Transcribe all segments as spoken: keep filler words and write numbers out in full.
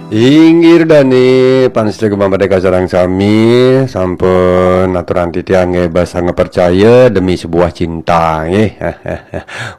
Inggih dane, pamiarsa Gema Merdeka sareng sami, sampun aturang titiang nggih basa ngepercaya demi sebuah cinta nggih.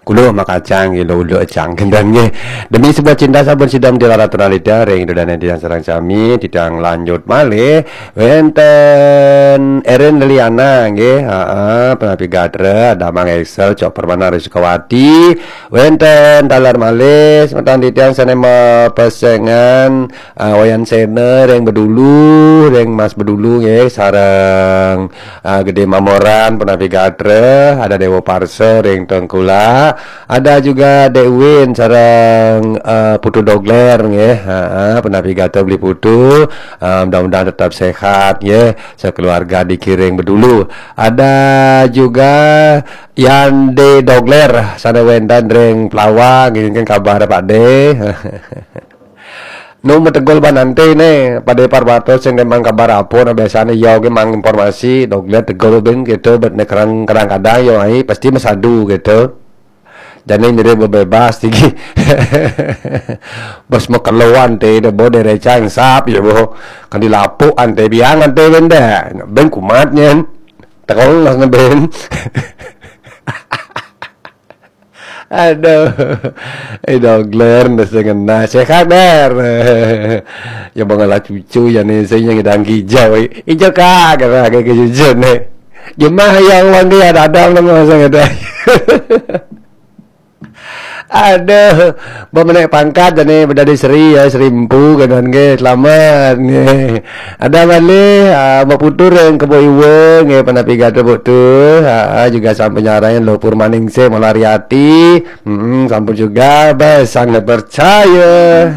Kulo makacang nggih lo ulo ecang kenten nggih. Demi sebuah cinta sampun sida mdhil aturang titiang ring dane titiang sareng sami, titiang lanjut malih wenten Erin Liliana nggih, heeh, penapi gatra, ada Mang Excel, Cok Permana Rizkawati, wenten taler malih semeton titiang sane mapesengan, ah, Wayan Sena ring Bedulu, ring Mas Bedulu nggih, sareng, ah, Gede Mamoran penapi gatra, ada Dewa Parsa ring Tengkulak, ada juga Dek Win sareng, ah, Putu Dogler nggih, heeh, penapi gatra Beli Putu, ah, mudah-mudahan tetap sehat nggih, sekeluarga dikiring Bedulu. Ada juga Yande Dogler sane wenten ring Pelawang, ngiring kabar Pak De. Nu metegul banante ne, Pak De Parwato sing nemang kabar apa, nah biasane ya oke mang informasi, Dogler tegul ben gitu, bet ne kadang-kadang ya ai pasti mesadu gitu. Jane mirip bebas tinggi. Bos mau keluan te de bo de recang sap ya bo. Kan dilapuk ante biang ante benda. Ben kumat nyen. Tekong las ne ben. Aduh. Eh, Dogler nda sing ngena. Sehat, Der. Ya bang ala cucu ya ne sing yang ngedang hijau. Hijau kak kata ke cucu ne. Jemah yang wang dia dadang nama sing ada. Aduh, bemenek pangkat jane bedadi Sri ya, Sri Empu kenan nggih, selamat nggih. Ada malih, ah, Mbak Putu ring Kebo Iwa nggih, penapi gatra Putu. Ah, juga sampun nyarengin Lho Purmaningsih Malariati. Hmm, sampun juga bes sangat percaya.